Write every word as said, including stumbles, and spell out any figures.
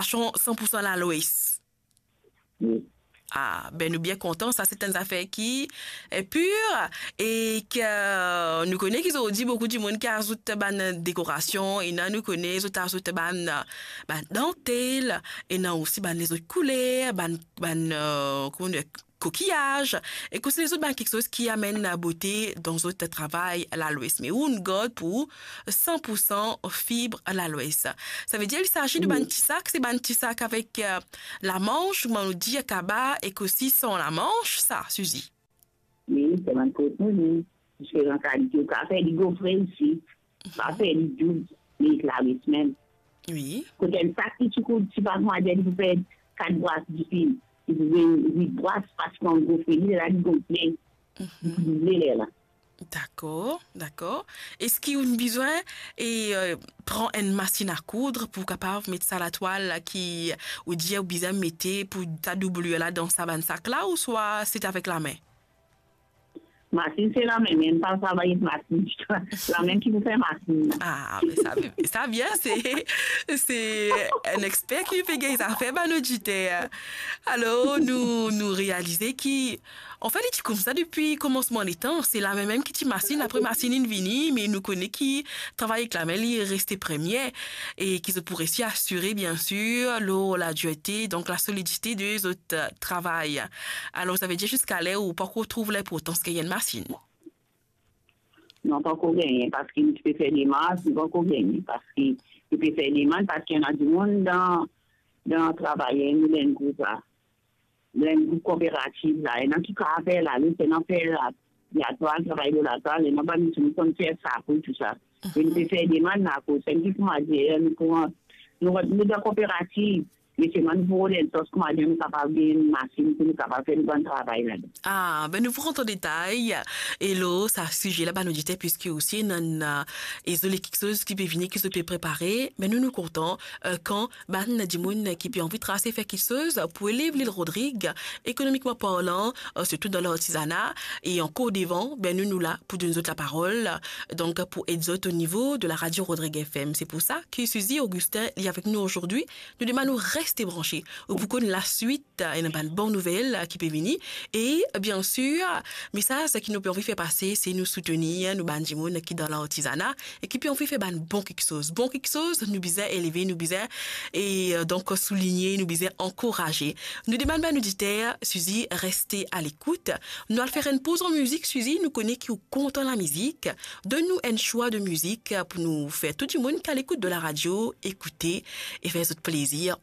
dekorasion san pou san Lalwes. Wi. Ah, be nou bien kontan, sa se enn zafer ki, eh, pir, e ki, eh, nou kone ki zordi boukou dimoun ki azout bann dekorasion, ena nou kone zot azout bann, bann dantel, ena osi bann lezot kouler, bann, bann, eh, kouma nou dir, kokiyaz, e kouma lezot bann kiksoz ki amenn bote dan zot travay Lalwes. Me ou, nou gard pou san pou san fib Lalwes. Sa ve dir, il s'agit de bann ti sak, se bann ti sak avek, eh, lamanch, kouma nou dir, kaba, ek osi san lamanch, sa, Suzy? Wi, se bann kot nou, wi. Diferan kalite, ou kapav fer li gofre osi, ou kapav fer li doub, me ek Lalwes mem. Wi. Kot enn sak ki ti kout, ti pa kouma dir, li pou fer kat bras difil, li pou vinn wit bras, parski an gofre li, lerla li gonfle, li pou double lerla. Dakor, dakor. Eski ou bizin, e, eh, pran enn masinn a koud pou kapav met sa latwal la ki ou dir ou bizin mete pou ta doublir la dan sa bann sak la, ouswa se avek lame? Masinn se lame mem, pa travay ek masinn ditou. Lame ki pou fer masinn la. Ah, me sa, sa bien, se, se enn exper ki pe gagn zafer, bann oditer. Alor, nou, nou realize ki, anfet, li ti koumsa depi komansman letan. Se lame mem ki ti masinn, apre masinn inn vini, me nou kone ki travay ek lame, li reste premie, e ki zot pou resi asire, biensir, lor ladirte, donk la solidite de zot, eh, travay. Alor, sa ve dir ziska ler ou pankor trouv linportans gagn enn masinn? Non, pankor gagne, parski nou ti pe fer demars, nou pankor gagne, parski nou pe fer demann, parski ena dimoun dan, dan travayer nou, dan enn group la, dan enn group koperativ la, ena ki kapav fer lalwes, ena fer la, latwal, travay lor latwal, ena bann dimoun konn fer sapo, tou sa. E nou pe fer demann, akoz sa ki kouma dir, nou kouma, nou, nou dan koperativ, me selman nou pou rod enn sors kouma dir nou kapav gagn enn masinn pou nou kapav fer nou bann travay ladan. Ah, be nou pou rant an detay, e lor sa size la, bann oditer, piski osi ena, eh, e zoli kiksoz ki pe vini, ki zot pe prepare, me nou, nou kontan, eh, kan bann dimoun ki pe anvi trase fer kiksoz pou elev Lil Rodrig, ekonomikman parlan, eh, sirtou dan lartizana, e ankor devan, be nou, nou la pou donn zot laparol, donk pou ed zot o nivo de la radio Rodrig F M. Se pou sa ki Suzy Augustin li avek nou azordi. Nou demann ou reste branche, ou pou konn laswit, ena bann bon nouvel ki pe vini. E, biensir, mesaz ki nou pe anvi fer pase, se nou soutenir nou bann dimoun ki dan lartizana e ki pe anvi fer bann bon kiksoz. Bon kiksoz, nou bizin eleve, nou bizin, e, eh, donk, souligne, nou bizin ankouraze. Nou demann bann oditer, Suzy, reste a lekout. Nou al fer enn poz an mizik, Suzy, nou kone ki ou kontan lamizik. Donn nou enn swa de mizik pou nou fer tou dimoun ki a lekout de la radio ekoute e fer zot plezir.